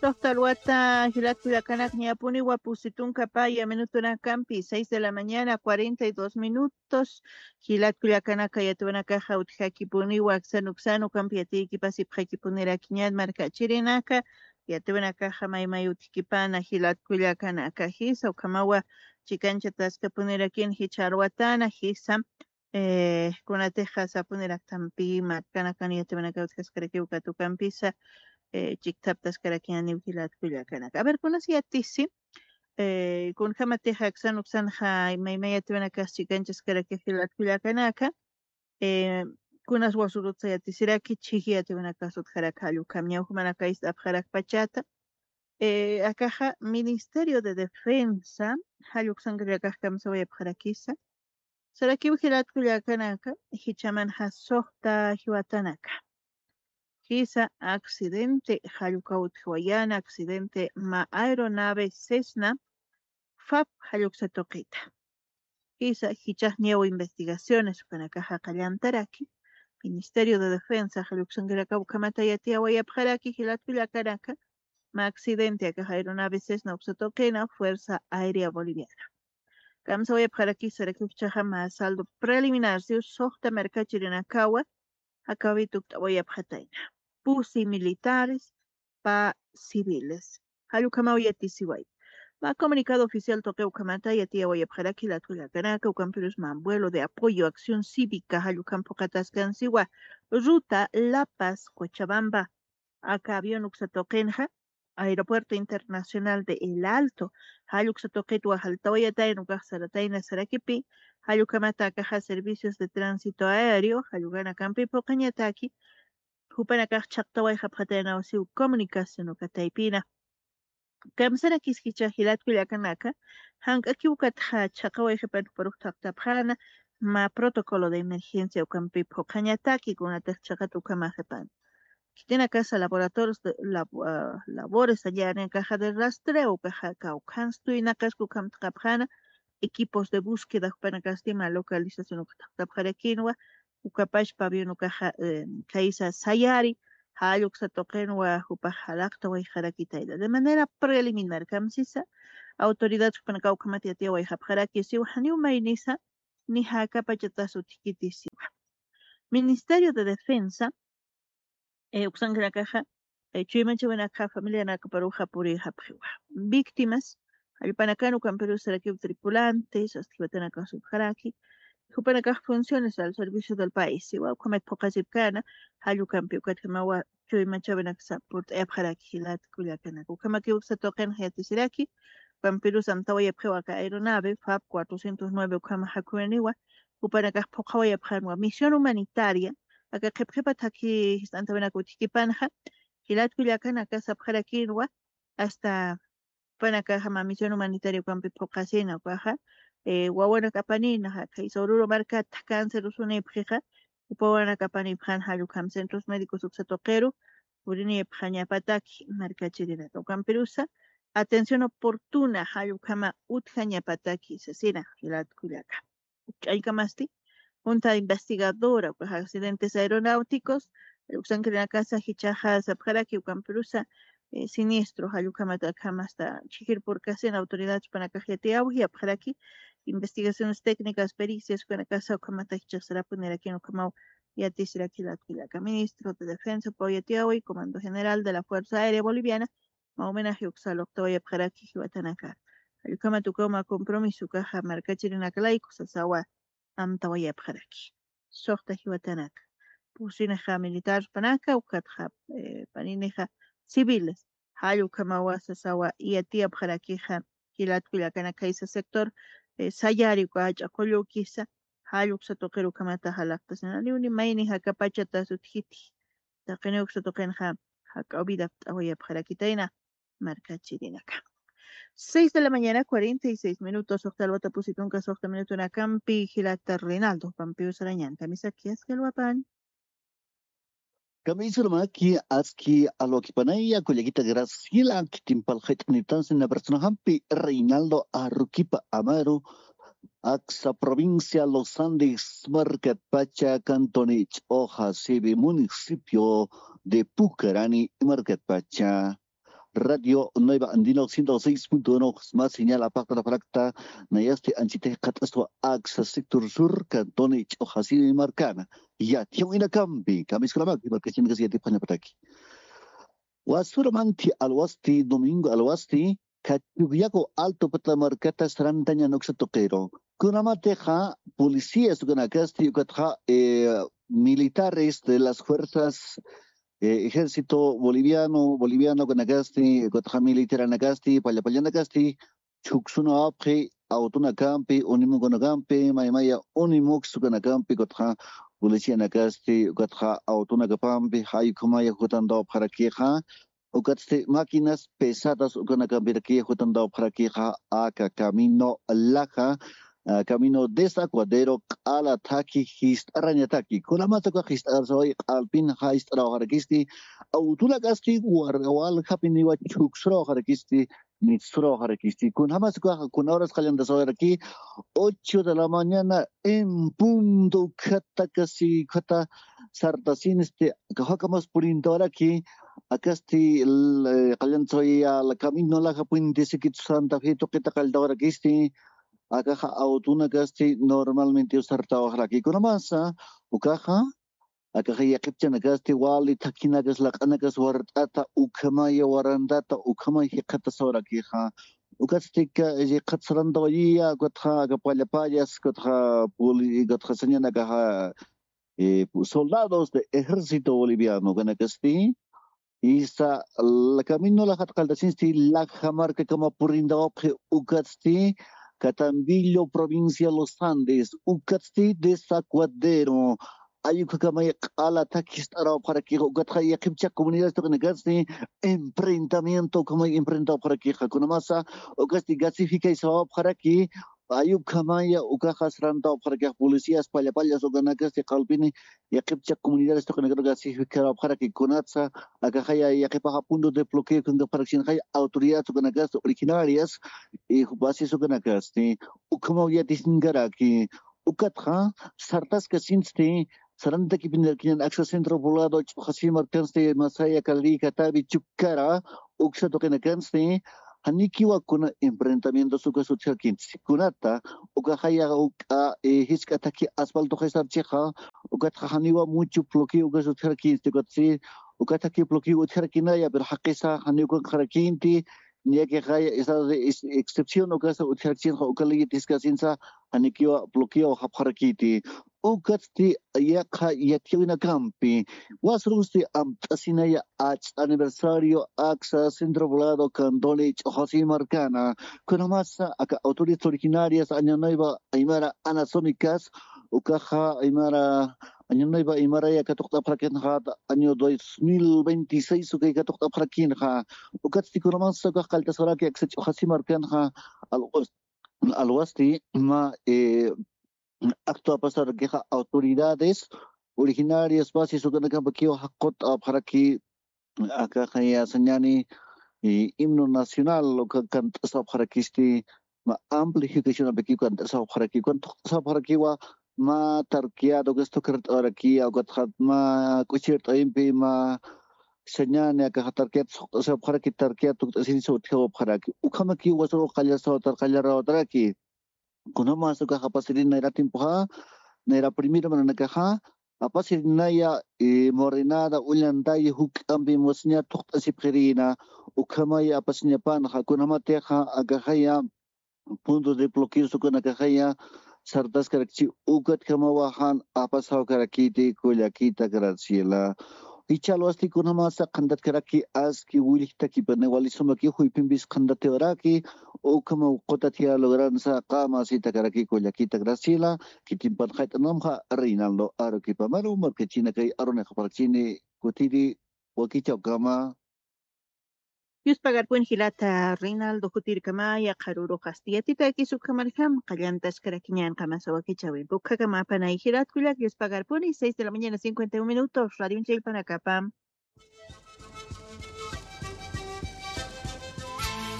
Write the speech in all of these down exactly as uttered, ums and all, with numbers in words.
Doctor Wata, jilat kullakanaka, ñapuniwa pusi tunka paya minutunakampi, seis de la mañana, cuarenta y dos minutos. Jilat kullakanaka, yatiwanakaxa utjakipuniwa aksan uksan ukampi yatiykipasipxakipunirakïñan markachirinaka. Yatiwanakaxa maymay utjkipana jilat kullakanaka, jisa ukhamawa chikanchataskapunirakïn jichha arwatana, jisa eh, kunatixa sapuniraktampi markanakan yatiwanaka utjaskarakiw katukampisa, eh, chiktaptaskarakïñaniw jilat kullakanaka. A ver, kunas yatisi, eh, kunjamatix aksan uksanxa maymay yatiwanakas chikanchaskarakix jilat kullakanaka, eh, kunas wasurutsa yatisiraki chhiji yatiwanakas utjaraki jall ukham ñawjamanak ist'apxarakpachata, eh, akaxa Ministerio de Defensa, jall uksankarakax kamsawayapxarakisa, sarakiw jilat kullakanaka, jichhamanxa suxta jiwatanaka. Jisa accidente, jall ukaw utjawayana accidente mä aeronave Cessna, FAB jall uksa tuqita. Jisa jichhax niyaw investigaciones ukanakaxa qallantaraki, Ministerio de Defensa jall uksankarakaw ukhamata yatiyawayapxaraki jilat kullakanaka, mä accidente akax aeronave Cessna uksa tuqina, Fuerza Aérea Boliviana. Kamsawayapxaraki sarakiw jichhaxa mä saldo preliminar siw suxta markachirinakawa, akawi tukt'awayapxatayna. Pusi militares, pä civiles. Jall ukhamaw yatisiway. Mä comunicado oficial tuqi ukhamata yatiyawayapxaraki jilat kullakanaka, ukampirus mä vuelo de apoyo acción cívica jall ukham phuqataskansiwa. Ruta La Paz, Cochabamba, aka avión uksa tuqinxa, Aeropuerto Internacional de El Alto, jall uksa tuqitwa jaltawayatayna, ukax saratayna sarakipi, jall ukhamata akaxa servicios de tránsito aéreo, jall ukanakampi phuqañataki, jupanakax chhaqtawayxapxataynaw siw comunicación uka taypina. Kamsarakis jichha jilat kullakanaka, jank'akiw ukatxa chhaqawayxipan juparux thaqtapxäna, mä protocolo de emergencia ukampi phuqhañataki, kunatix chhaqat ukhamaxipan. Khitinakasa laboratorios de lab-, ah, labores allá en caja de rastreo, ukaxa kawkhanstuynakas ukhamtaqapxäna, equipos de búsqueda jupanakasti mä localización uka thaqtapxarakïnwa, ukapach pabellón ukaxa, eh, khaysa sayari, jall uksa tuqinwa jupax jalaqtawayxarakitayna. De manera preliminar, kamsisa, autoridad jupanakaw ukhamat yatiyawayxapxaraki siwa, janiw maynisa, ni jakapachatas utjkiti siwa. Ministerio de Defensa, eh, uksankanakaxa, eh, chuymachawinakaxa familianakaparuxa purixapxiwa. Víctimas, jallpanakan ukampirus sarakiw tripulantes, asti jiwatanakas utjaraki, jupanakax funciones al servicio del país, siwa ukhamat phuqasipkana, jall ukampi ukatjamawa chuymachawinaksa purt'ayapxaraki jilat kullakanaka. Ukhamakiw uksa tuqinxa yatisiraki, ukampirus amtawayapxiwa aka aeronave, FAB cuatrocientos nueve ukhama jakhuwiniwa, jupanakax phuqhawayapxänwa misión humanitaria, aka qhipqhipat jaki jist'antawinak utjkipanxa, jilat kullakanaka sapxarakïnwa, hasta jupanakaxa mä misión humanitaria ukampi phuqasina ukaxa, eh, wawanak apanïna, khaysa Oruro markata cáncer usunïpxixa, jupa wawanak apanïpxän jall ukham centros médicos uksa tuqiru, purinïpxañapataki markachirinaka. Ukampirusa, atención oportuna jall ukhama utjañapataki sasina, jilat kullaka. Ukch'añkamasti, Junta Investigadora, ukax accidentes aeronáuticos, uksankirinakasa jichhaxa sapxaraki, ukampirusa, eh, siniestro, jall ukhamat akhamasta chhijir purkasina autoridad jupanakax yatiyawayapxaraki, investigaciones técnicas, pericias, ukanakasa ukhamata jichhax sarapunirakïn ukhamaw yatisiraki jilat kullaka. Ministro de Defensa, upaw yatiyaway, Comando General de la Fuerza Aérea Boliviana, mä homenaje uksa luqtawayapxaraki jiwatanaka. Jall ukhamat ukaw mä compromiso ukaxa markachirinakalayku sasawa amtawayapxaraki. Suxta jiwatanaka. Pusinixa militar panaka, ukatxa, eh, paninixa civiles. Jall ukhamawa sasawa yatiyapxarakixa jilat kullakanaka, khaysa sector, eh, sayari uka jach'a qullukisa, jall uksa tuqiru ukhamata jalaqtasina, niw ni mayni jakapachatas utjkiti. Taqiniw uksa tuqinxa jak'aw vida apt'awayapxarakitayna markachirinaka. Seis de la mañana, cuarenta y seis minutos, suxta alwata pusi tunka suxta minutunakampi, jilata Reinaldo, pampiw sarañan, kamisaki aski alwapan. Kamisaki aski alwakipanaya, kullakita Graciela, khitin phalqit'aniptansi na personajampi, Reinaldo Aruquipa Amaru, Aksa provincia Los Andes markatpacha, cantón Ch'oja, sede municipio de Pucarani markatpacha. Radio Nueva Andina ciento seis punto uno, más señal apaqtaraparakta, nayasti anchitix qat'aswa AXA sector sur, cantón Ch'uxasimi markana. Yatiyawinakampi, kamiskunamak, markachinkas yatipxañapataki. Wasuramanti alwasti, domingo alwasti, Kachugyaku Alto Pata markata sarantañan uksa tuqiru. Kunamatixa policías ukanakasti, ukatxa, eh, militares de las fuerzas, eh, ejército boliviano, boliviano ukanakasti, ukatxa militaranakasti, pallapallanakasti, chhuksunawapxi, autonakampi, unimukanakampi, maymaya unimux ukanakampi, ukatxa policianakasti, ukatxa autonakapampi, jay ukhamaya jutantawapxarakixa, ukatsti máquinas pesadas ukanakampirakiya jutantawapxarakixa, aka camino laja, ah, camino desaguadero, q'ala thaki jist'arañataki. Kunamasa uka jist'arasaway q'alpin jist'arawxarakisti, autonakasti war-, waljapiniwa chhuksurawxarakisti, mitsurawxarakisti. Kunamasa uka, kuna horas qallantasawaraki, ocho de la mañana en punto, ukhata casi, ukhata sartasinisti, aka jakamas purintawaraki, akasti, l-, eh, qallantsawaya la camino laja puentesiki Santa Fe tuqita qalltawarakisti, akaxa autonakasti normalmente sartawaxaraki. Kunamasa, ukaxa, akaxa yaqhipchanakasti wali thakhinakas laq'anakas wart'ata, ukhamaya warantata, ukhamaya jikxatasawarakixa. Ukatsti ka, jikxatasarantawayiya, ukatxa aka pallapallas, ukatxa poli-, ukatxa sañanakaxa, eh, soldados de ejército boliviano ukanakasti, isa, la camino lajat qalltasinsti, laja markakama purintawapxi, ukatsti, Catambillo, provincia Los Andes, ukatsti, Desaguadero, ayukakamay q'ala thaki jist'arawapxarakixa, ukatxa yaqhipcha comunidades tuqinakasti, enfrentamiento, ukhamay enfrentawapxarakixa, kunamasa, ukatsti gasificaysawapxaraki, ayukhamaya ukaxa sarantawapxarakixa, policías pallapallas ukanakasti q'alpini, yaqhipcha comunidades tuqinakar gasificarawapxaraki, kunatsa, akaxaya yaqhipaxa punto de bloqueo ukankapxarakchinxaya, autoridades ukanakasti originarias, y bases ukanakasti, ukhamaw yatisinkaraki, ukatxa, sartaskasinsti, sarantakipinirakiñan AXA centro poblado, Ch'uxasimi markansti, masaya Calí, Catavi, Chucara, uksa tuqinakansti, janikiwa kuna enfrentamientos ukas utjarkinsti. Kunata, ukaxaya uka, eh, jisk'a thaki asfalto jisarchixa, ukatxa janiwa mucho bloqueo ukas utjarkinsti, ukatsi, uka thaki bloqueo utjarkinaya, pero jaqisa janiw ukanxarakinti, niyakixaya, esa de ex-, excepción ukasa utjarkinxa, uka ley tiskasinsa, janikiwa bloqueo japxarakiti. Ukatsti yaqha yatiyawinakampi, wasrusti amt'asinaya ach'a aniversario AXA centro poblado Cantón Ch'uxasimi markana, kunamasa aka autoridades originarias Año Nuevo Aymara Anasónicas, ukaxa Aymara, Año Nuevo Aymaraya katuqt'apxarakinxa, año dos mil veintiséis ukay katuqt'apxarakinxa, ukatsti kunamasa ukax qalltasaraki AXA Ch'uxasimi markanxa, alwas-, alwasti, ma, eh, acto apasarakixa autoridades originarias bases ukanakampakiwa jaqut'apxaraki, akaxaya sañani, eh, himno nacional uka kant'asapxarakisti, ma amplificacionampaki kant'asapxaraki, kant'asapxarakiwa, ma tarkiat ukas thukart'awarakiya, ukatxa ma k'uchirt'awimpi, ma sañani, akaxa tarkiat suqt'asapxaraki, tarkiat tukt'asinsa utjawapxaraki. Ukhamaki wasru qallasawatar, qallarawtaraki. Kunjamas ukax apasirin nayra tiempoxa, nayra primero mananakaxa, apasirinaya, eh, morenada, ullantaya, juk'ampi musña thuqt'asipxirina, ukhamaya apasiñapanxa, kunjamatixa, akaxaya, punto de bloqueo ukanakaxaya, sartaskarakchi, ukatjamawa jan apasawkarakiti, kullakita Graciela. Jichha alwasti kunjamasa qhantatkaraki aski willjtakipani wali sumaki juyphimpis qhantatiwaraki, ukhama qutathiya logransa qama sitakaraki kullakita Graciela, khitimpan jayt'anamxa Reinaldo Aruquipa. Maru markachina kay arunixapxarakchini kutiri wakichawkama. Dios pagarpuni jilata Reinaldo jutirkamaya, qharürux asti yatitakis ukhamarjam, qallantaskarakiñan qamasa wakichawimpi. Ukhakamapana jilat kullak, Dios pagarpuni, seis de la mañana, cincuenta y un minutos, radio chillpanakapam.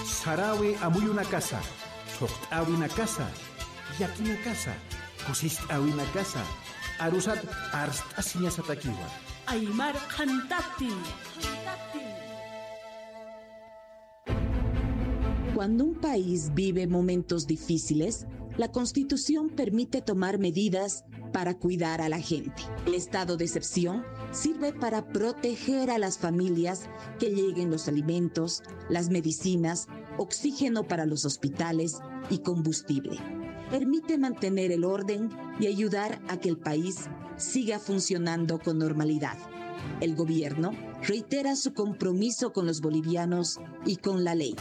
Sarawi amuyunakasa, thuqt'awinakasa, llakinakasa, kusist'awinakasa, arusat arst'asiñasatakiwa. Aymar qhantati. Cuando un país vive momentos difíciles, la Constitución permite tomar medidas para cuidar a la gente. El estado de excepción sirve para proteger a las familias, que lleguen los alimentos, las medicinas, oxígeno para los hospitales y combustible. Permite mantener el orden y ayudar a que el país siga funcionando con normalidad. El gobierno reitera su compromiso con los bolivianos y con la ley.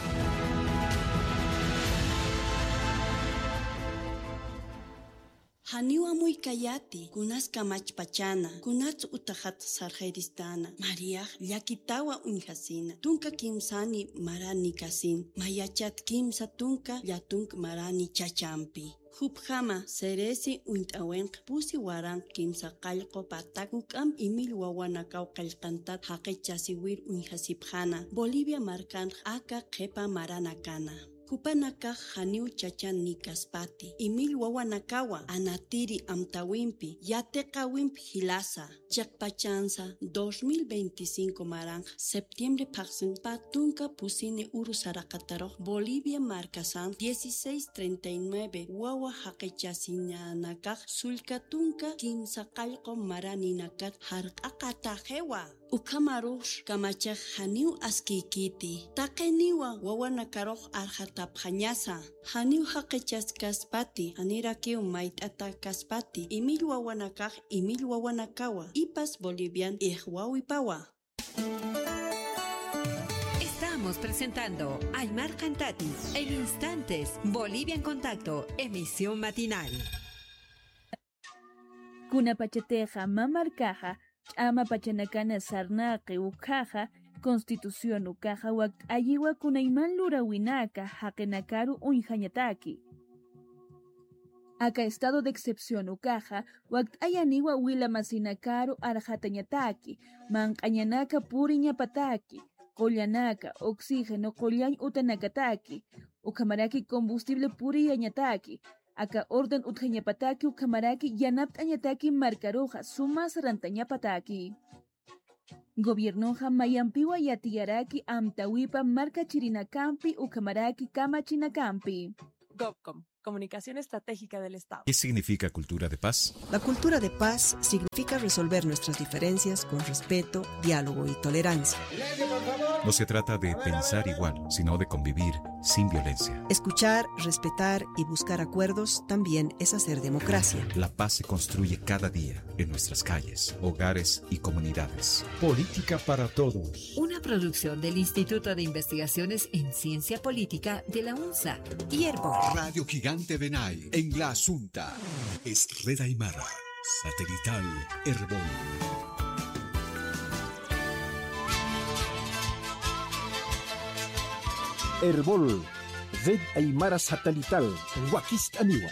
Janiw amuykayati, kunas kamachpachana, kunats utaxat sarxiristana, Mariax llakitawa uñjasina, tunka kimsani marani kasin, mayachat kimsa tunka llatunk marani chachampi. Jupjama seresi uñt'awinq pusi waranq kimsa qallqu patak juk'amp imill wawanakaw qillqantat jaqichasiwir uñjasipxana Bolivia markanx aka qhipa maranakana. Jupanakax janiw chachan nikaspati, imill wawanakawa anatiri amtawimpi, yatiqawimp jilasa, chiqpachansa dos mil veinticinco maranx septiembre phaxsinpa tunka pusini uru saraqatarux Bolivia markasan dieciséis treinta y nueve wawa jaqichasinanakax sullka tunka kimsa qallqu maraninakat jarq'aqataxiwa. Ukhamarux kamachax janiw askiykiti. Taqiniwa wawanakarux arxatapxañasa. Janiw jaqichaskaspati, janirakiw mayt'atakaspati, imill wawanakax imill wawanakawa, ipas Bolivian ixwawipawa. Estamos presentando Aymar Cantati en instantes, Bolivia en Contacto, emisión matinal. Kunapachatixa mä markaxa ch'ama pachanakana sarnaqi ukhaxa, Constitución ukaxa wakt'ayiwa kunayman luräwinaka jaqinakaru uñjañataki. Aka estado de excepción ukaxa wakt'ayaniwa wila masinakaru arxatañataki, manq'añanaka puriñapataki, qullanaka, oxígeno qullañ utanakataki, ukhamaraki combustible puriyañataki, aka orden utjañapataki ukhamaraki yanapt'añataki markaruxa suma sarantañapataki. Gobiernoxa mayampiwa yatiyaraki amtawipa markachirinakampi ukhamaraki kamachinakampi. Govcom, Comunicación Estratégica del Estado. ¿Qué significa cultura de paz? La cultura de paz significa resolver nuestras diferencias con respeto, diálogo y tolerancia. No se trata de pensar igual, sino de convivir sin violencia. Escuchar, respetar y buscar acuerdos también es hacer democracia. La paz se construye cada día en nuestras calles, hogares y comunidades. Política para todos. Una producción del Instituto de Investigaciones en Ciencia Política de la UNSA y Erbol. Radio Gigante Benay, en La Asunta. Es Red Aymara, satelital, Erbol. Erbol, Red Aymara Satelital, wakist'aniwa.